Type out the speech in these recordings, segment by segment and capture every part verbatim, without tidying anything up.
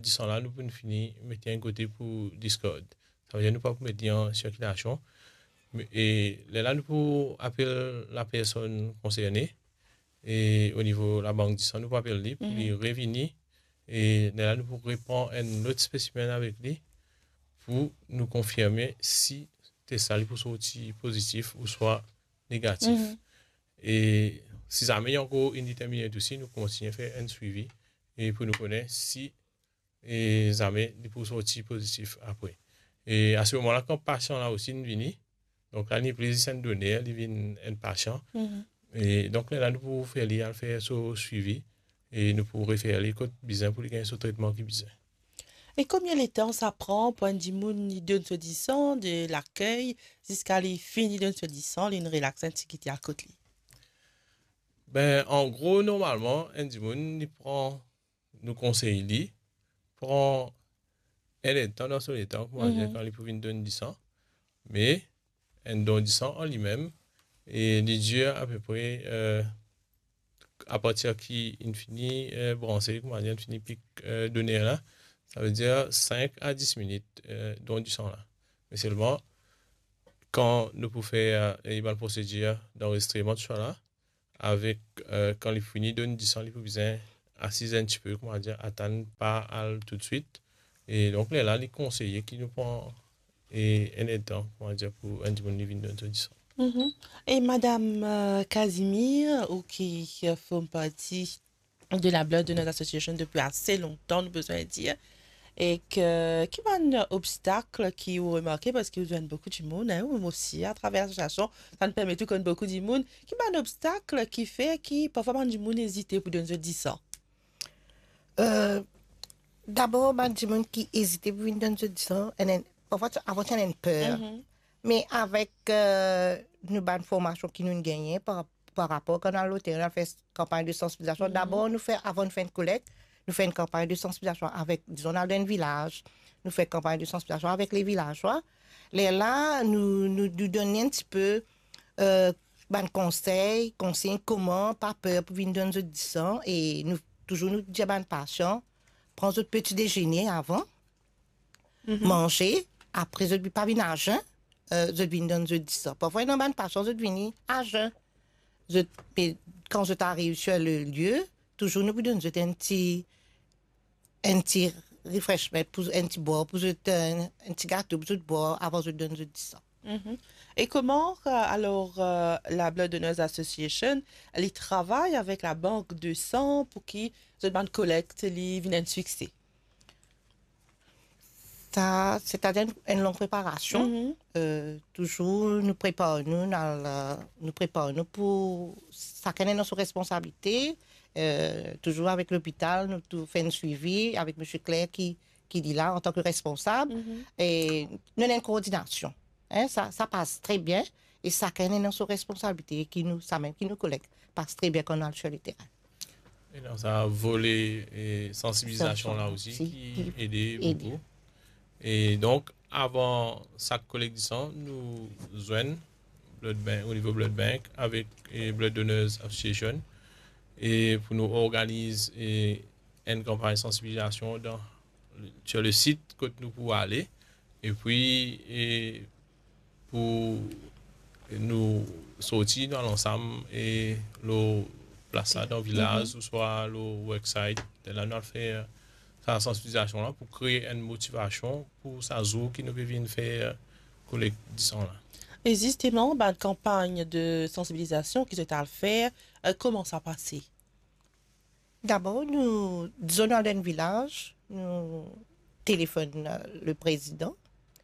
disan la, nou pou fini met li enn kote pou diskard. Savedir nou pa pou met li an sirkilasion. Me, e lerla nou pou apel lapersonn konserne, e o nivo labank disan, nou pou apel li pou li revini, e lerla nou pou repran enn lot spesimenn avek li pou nou konfirme si tes la li pou sorti pozitif ouswa negatif. E si zame li ankor indetermine osi, nou kontigne fer enn swivi e pou nou kone si e zame li pou sorti pozitif apre. E a se moman la, kan pasian la osi inn vini, donk la li nepli zis enn doner, li vinn enn pasian. E donk lerla nou pou fer li al fer so swivi e nou pou refer li kot bizin pou li gagn so tretman ki bizin. E konbien letan sa pran pou enn dimoun li donn so disan, de lakey ziska li fini donn so disan, li relax enn tigit, li al kot li? Ben, an gro, normalman, enn dimoun li pran, nou konsey li pran enn edtan dan so letan, koumadir, kan li pou vinn donn disan. Me enn don disan an limem, e li dir apepre, eh, apartir ki inn fini, eh, branse, koumadir, inn fini pik, eh, doner la, savedir sink a dis minit, eh, don disan la. Me selman, kan nou pou fer, eh, bann prosedir danrezistreman, tousala, avek, eh, kan li fini donn disan, li pou bizin asiz enn tipe, koumadir, atann, pa al toutswit. E donk, lerla, li konseye ki nou pran, e, enn edtan, koumadir, pou enn dimoun li vinn donn so disan. E madam, eh, Casimir, ou ki, eh, form parti de la Blood Donors Association depi ase lontan, nou bizin dir, e ki, ki bann obstak ki ou remarke, parski ou zwenn boukou dimoun, hein, ou osi, atraver lasosiasion, sa inn permet ou konn boukou dimoun, ki bann obstak ki fer ki parfwa bann dimoun ezite pou donn zot disan? Eh, dabor, bann dimoun ki ezite pou vinn donn zot disan, ena, parfwa, avan ti ena enn per. Me avek, eh, nou bann formasion ki nou gagne par, par rapor kan nou al loterin, nou al fer kanpagn de sansibilizasion. Dabor, nou fer, avan nou fer enn kolekt, nou fer enn kanpagn de sansibilizasion avek, dizon, nou al dan enn vilaz, nou fer kanpagn de sansibilizasion avek le vilazwa. Lerla, nou, nou, nou donn enn tipe, eh, bann konsey, konsign, kouma pa per pou vinn donn zot disan, e nou, touzour nou dir bann pasian, pran zot peti dezene avan, manze, apre zot pa vinn azen, eh, zot vinn donn zot disan. Parfwa, ena bann pasian, zot vini azen. Zot, me kan zot ariv sur le lie, touzour nou pou donn zot enn ti, enn ti refreshment, pou, enn ti bwar pou zot, enn, enn ti gato pou zot bwar avan zot donn zot disan. E kouma, eh, alor, eh, la Blood Donors Association, li travay avek la bank de san pou ki zot bann kolekt li vinn enn sikse? Sa, setadir enn, enn long preparasion. Eh, touzour nou prepar nou, nou al, eh, nou prepar nou pou, sakenn ena so responsabilite, eh, touzour avek lopital, nou tou fer enn swivi avek misie Claire ki, ki li la antan ki responsab, e nou ena enn koordinasion. Hein, sa, sa pas tre bien, e sakenn ena so responsabilite, ki nou, samem ki nou kolekt, pas tre bien kan nou al sur le terrain. E dan sa vole, e, sansibilizasion la osi, ki ede boukou. E donk, avan sak kolekt disan, nou zwenn Blood Bank, o nivo Blood Bank, avek, e, Blood Donors Association, e pou nou organiz, e, enn kanpagn sansibilizasion dan, sur le sit kot nou pou ale, epi, e, pou nou sorti, nou al ansam, e, lor plas la, dan vilaz, ouswa lor worksite. Lerla nou al fer sa sansibilizasion la pou kree enn motivasion pou sa zour ki nou pe vinn fer kolekt disan la. E zisteman, bann kanpagn de sansibilizasion ki zot al fer, eh, kouma sa pase? Dabor, nou, dizon, nou al dan enn vilaz, nou telefonn, eh, le prezidan,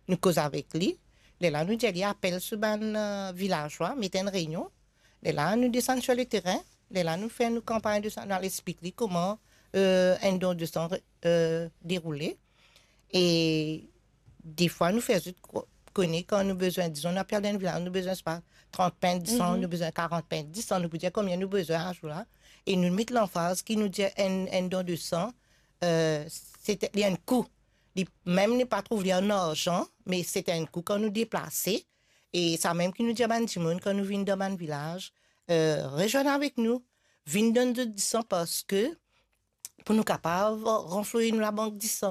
nou koz avek li. Lerla nou dir li apel so bann, eh, vilazwa, met enn reynion. Lerla nou desann sur le terrain. Lerla nou fer nou kanpagn de san, nou al explik li kouma, eh, enn don de san, eh, deroule. E defwa nou fer zot ko-, kone kan nou bizin, dizon, nou apel dan enn vilaz, nou bizin, sepa, trant pint disan, nou bizin karant pint disan, nou pou dir konbien nou bizin azour la. E nou met lanfaz ki nou dir enn, enn don de san, eh, se te, li enn kou. Li mem nou pa trouv li an larzan, me se te enn kou kan nou deplase. E samem ki nou dir bann dimoun, kan nou vinn dan bann vilaz, eh, rezwenn avek nou, vinn donn zot disan, parski pou nou kapav ranfloy nou labank disan.